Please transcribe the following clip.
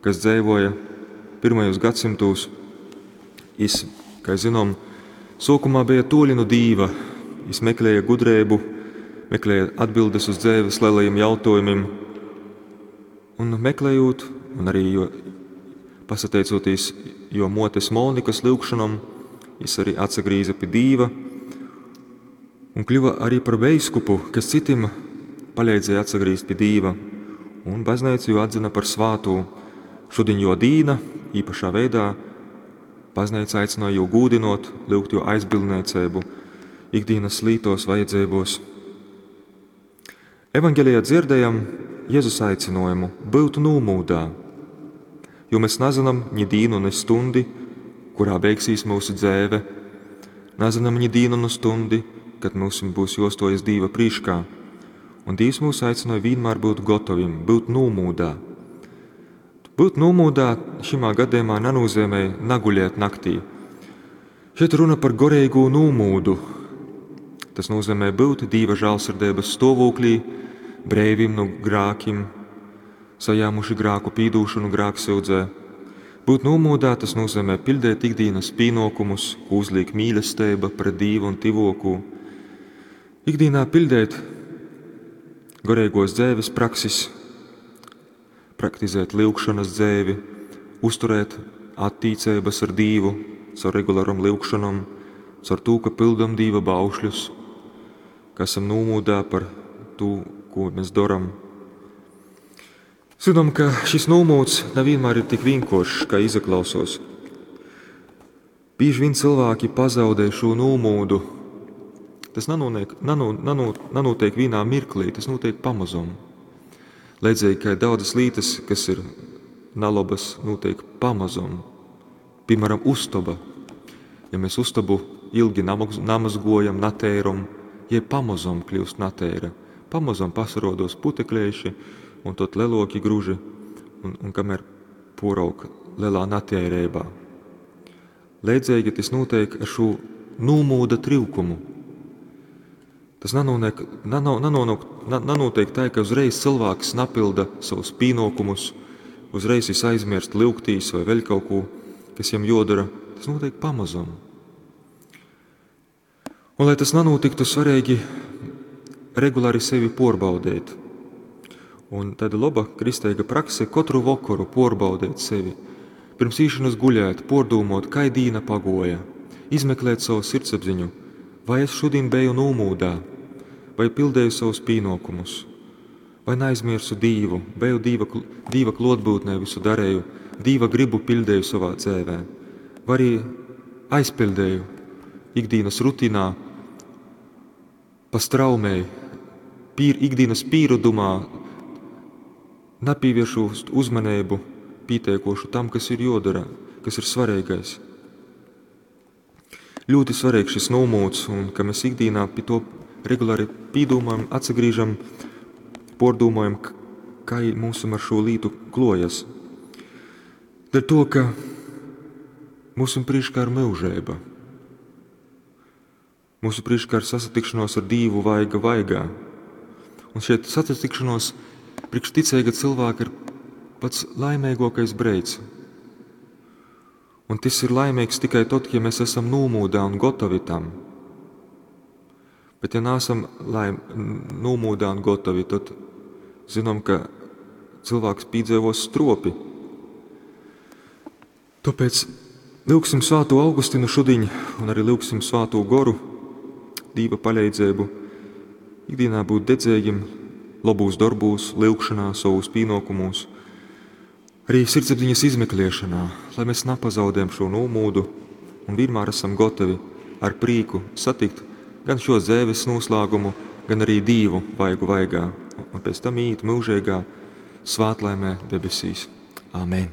kas dzeivoja pirmajos gadsimtūs. Jis, kai zinām, sōkumā beja tuoļi nu Dīva, jis meklēja gudreibu, meklēja atbildes uz dzeives lielajiem jautājumiem. Un meklējot, un arī jo, pasateicoties jo motes Monikas lyugšanom, jis arī atsagrīza pie Dīva un kļuva arī par veiskupu, kas citim palīdzēja atsagrīzt pie Dīva. Un baznīca jū atzina par svātū. Šodien jo dīna īpašā veidā baznīca aicināja jū gūdinot, lyugt jo aizbildniecību ikdienas lītos vajadzībos. Evangelijā dzirdējam Jēzus aicinājumu būt nūmūdā, jo mēs nezinām ni dīnu, ni stundi, kurā beigsies mūsu dzēve, nezinām ni dīnu, ni stundi, kad mums būs jostojas Dīva prīškā. Un Dievs mūs aicināja vienmēr būt gatavim, būt nūmūdā. Būt nūmūdā šimā gadījumā nenozīmē naguļēt naktī. Šeit runa par gorīgo nūmūdu. Tas nozīmē būt Dieva žēlsirdības stāvoklī, breivim no grākim, sajāmuši grāku pīdūšanu grāksūdzē. Būt nomūdā tas nozīmē pildēt ikdienas pienākumus, ko uzliek mīlestība pret Dievu un tivokū. Ikdienā pildēt garīgos dzēves praksis, praktizēt lyugšanas dzēvi, uzturēt attīcības ar Dievu caur regularam lyugšanom, caur to, ka pildam Dieva baušļus, ka esam nomūdā par to, ko mēs darām. Zinām, ka šis nomūds nevienmēr ir tik vienkāršs, kā izaklausos. Bieži vien cilvēki pazaudē šo nomūdu. Tas nanotiek, nano, nano, nanotiek vienā mirklī, tas notiek pamazom. Līdzīgi kā daudzas lietas, kas ir nalabas, notiek pamazom. Piemēram, uztaba. Ja mēs uztabu ilgi namazgojam, natēram, ja pamazom kļūst natēra. Pamazom pasarodos putekļieši un tot leloki gruži, un kamēr porauk lielā natērībā. Līdzīgi tas notiek ar šo nūmūda trūkumu. Tas nanotiek, nano, nano, nanotiek tā, ka uzreiz cilvēks napilda savus pienākumus, uzreiz viņš aizmirst lūgtīs vai vēl kaut ko, kas viņam jodara. Tas notiek pamazam. Un, lai tas nenotiktu, svarīgi regulāri sevi porbaudēt. Un tāda laba kristīga prakse katru vakaru porbaudēt sevi. Pirms īšanas guļēt, pordūmot, kai dīna pagoja, izmeklēt savu sirdsapziņu, vai es šodien biju nomūdā, vai pildēju savus pienākumus, vai neaizmirsu Dīvu, biju Dīva, Dīva klotbūtnē visu darēju, Dīva gribu pildēju savā dzēvē, vai arī aizpildēju ikdienas rutīnā, pa straumei, pīr, ikdienas pīrudumā, nepīvēršu uzmanību pieteikošu tam, kas ir jodara, kas ir svarīgais. Ļoti svarīgs šis nomūds, un ka mēs ikdienā pie to regulāri pīdūmojam, atsagrīžam, pordūmojam, kā mums ar šo lītu klojas. Dēļ to, ka mūsu priekšā ir mūžība. Mūsu priekšā ir sasatikšanos ar Dievu vaiga vaigā. Un šeit sasatikšanos priekš ticīga cilvēka ir pats laimīgākais breids. Un tas ir laimīgs tikai tad, ja mēs esam nomūdā un gatavi tam. Bet ja neesam laim, nomūdā un gatavi, tad zinām, ka cilvēks piedzīvos stropi. Tāpēc lūgsim Svēto Augustinu šodien un arī lūgsim Svēto Goru, Dīva palīdzību, ikdienā būt dedzīgiem, labūs darbūs, lūgšanā, savos pienākumos, arī sirdsapziņas izmeklēšanā, lai mēs nepazaudējam šo nomūdu un vienmēr esam gatavi ar prieku satikt gan šo dzēves noslēgumu, gan arī Dievu vaigu vaigā, un pēc tam iet mūžīgā svētlaimē debesīs. Āmen!